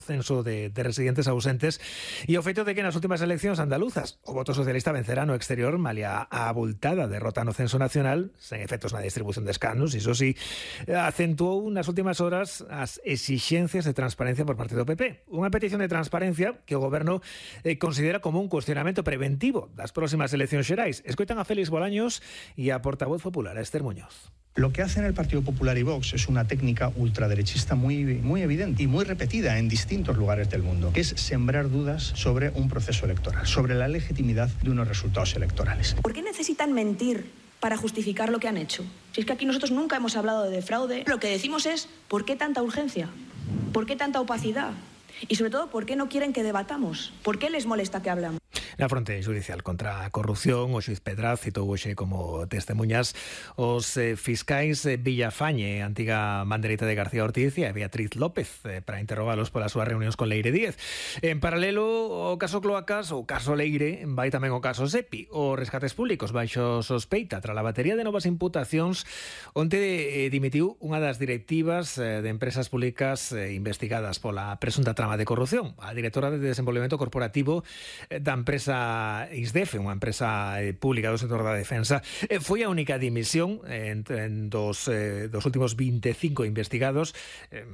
censo de residentes ausentes e o feito de que nas últimas eleccións andaluzas o voto socialista vencerá no exterior malia a abultada derrota no censo nacional, sen efectos na distribución de escanos, iso sí, acentuou nas últimas horas as exixencias de transparencia por parte do PP. Unha petición de transparencia que o Goberno considera como un cuestionamento preventivo das próximas eleccións xerais. Escoitan a Félix Bolaños e a portavoz popular, a Esther Muñoz. Lo que hacen el Partido Popular y Vox es una técnica ultraderechista muy evidente y muy repetida en distintos lugares del mundo, que es sembrar dudas sobre un proceso electoral, sobre la legitimidad de unos resultados electorales. ¿Por qué necesitan mentir para justificar lo que han hecho? Si es que aquí nosotros nunca hemos hablado de fraude, lo que decimos es ¿por qué tanta urgencia? ¿Por qué tanta opacidad? Y sobre todo, ¿por qué no quieren que debatamos? ¿Por qué les molesta que hablamos? Na fronte judicial contra a corrupción, o xuiz Pedraz citou hoxe como testemunhas os fiscais Villafañe, antiga manderita de García Ortiz, e Beatriz López para interrogalos polas súas reunións con Leire Díez. En paralelo, o caso Cloacas, o caso Leire, vai tamén o caso SEPI, os rescates públicos baixo sospeita tras a batería de novas imputacións onte dimitiu unha das directivas de empresas públicas investigadas pola presunta trama de corrupción, a directora de desenvolvemento corporativo da empresa ISDEFE, unha empresa pública do sector da defensa. Foi a única dimisión dos últimos 25 investigados,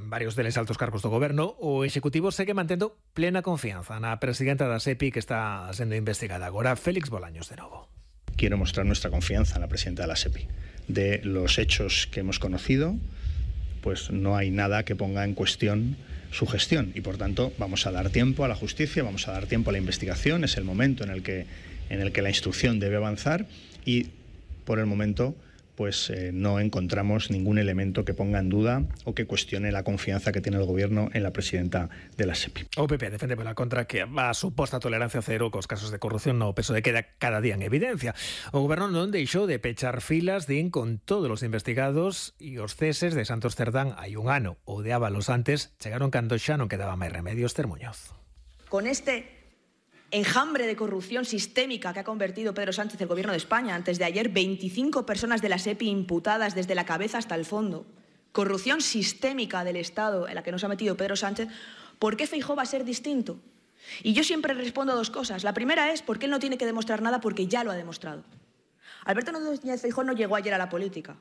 varios deles altos cargos do goberno. O executivo segue mantendo plena confianza na presidenta da SEPI que está sendo investigada agora. Félix Bolaños de novo. Quiero mostrar nuestra confianza en la presidenta de la SEPI. De los hechos que hemos conocido, pues no hay nada que ponga en cuestión su gestión y por tanto vamos a dar tiempo a la justicia, vamos a dar tiempo a la investigación, es el momento en el que la instrucción debe avanzar y por el momento pues no encontramos ningún elemento que ponga en duda o que cuestione la confianza que tiene el Gobierno en la presidenta de la SEPI. O PP defende pola contra que a suposta tolerancia cero cos casos de corrupción no peso de queda cada día en evidencia. O Goberno non deixou de pechar filas, din, con todos os investigados e os ceses de Santos Cerdán hai un ano ou de Ábalos antes chegaron cando xa non quedaba máis remedios. Esther Muñoz. Con este enjambre de corrupción sistémica que ha convertido Pedro Sánchez el Gobierno de España. Antes de ayer, 25 personas de la SEPI imputadas desde la cabeza hasta el fondo. Corrupción sistémica del Estado en la que nos ha metido Pedro Sánchez. ¿Por qué Feijóo va a ser distinto? Y yo siempre respondo a dos cosas. La primera es porque él no tiene que demostrar nada porque ya lo ha demostrado. Alberto Núñez Feijóo no llegó ayer a la política.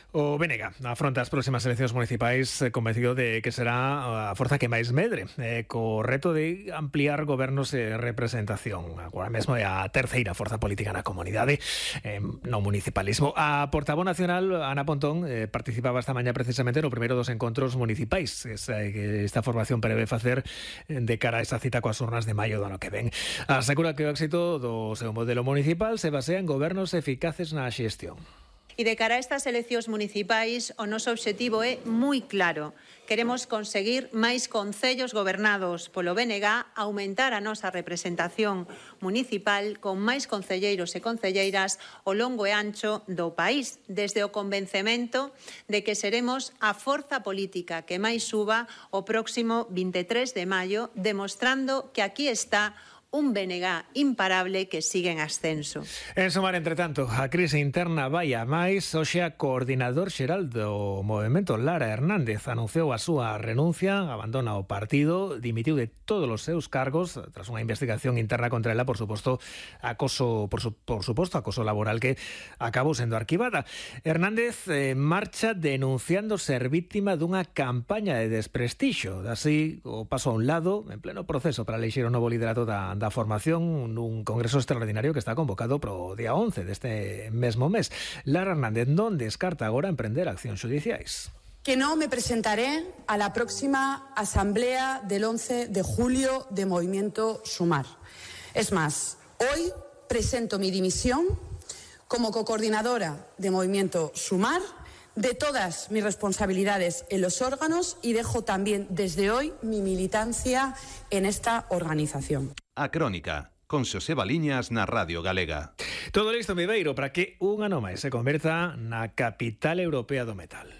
O BNG afronta as próximas eleccións municipais convencido de que será a forza que máis medre, co reto de ampliar gobernos e representación. Agora mesmo é a terceira forza política na comunidade, no municipalismo. A portavoz nacional, Ana Pontón, participaba esta mañá precisamente no primeiro dos encontros municipais que esta formación prevé facer de cara a esa cita coas urnas de maio do ano que ven. Asegura que o éxito do seu modelo municipal se basea en gobernos eficaces na xestión. E de cara a estas eleccións municipais, o noso obxectivo é moi claro. Queremos conseguir máis concellos gobernados polo BNG, aumentar a nosa representación municipal con máis concelleiros e concelleiras ao longo e ancho do país, desde o convencemento de que seremos a forza política que máis suba o próximo 23 de maio, demostrando que aquí está un BNG imparable que sigue en ascenso. En sumar, entre tanto, a crise interna vai a máis. Hoxe a coordinador xeral do movemento, Lara Hernández, anunciou a súa renuncia, abandona o partido, dimitiu de todos os seus cargos tras unha investigación interna contra ela, por suposto, acoso laboral que acabou sendo arquivada. Hernández marcha denunciando ser víctima dunha campaña de desprestixio. Así, o paso a un lado, en pleno proceso para elixir o novo liderato da formación nun congreso extraordinario que está convocado pro día 11 deste mesmo mes. Lara Hernández non descarta agora emprender accións judiciais. Que no me presentaré a la próxima asamblea del 11 de julio de Movimiento Sumar. Es más, hoy presento mi dimisión como cocoordinadora de Movimiento Sumar de todas mis responsabilidades en los órganos y dejo también desde hoy mi militancia en esta organización. A Crónica, con Xoseba Liñas na Radio Galega. Todo listo, Viveiro, para que un ano máis se converta na capital europea do metal.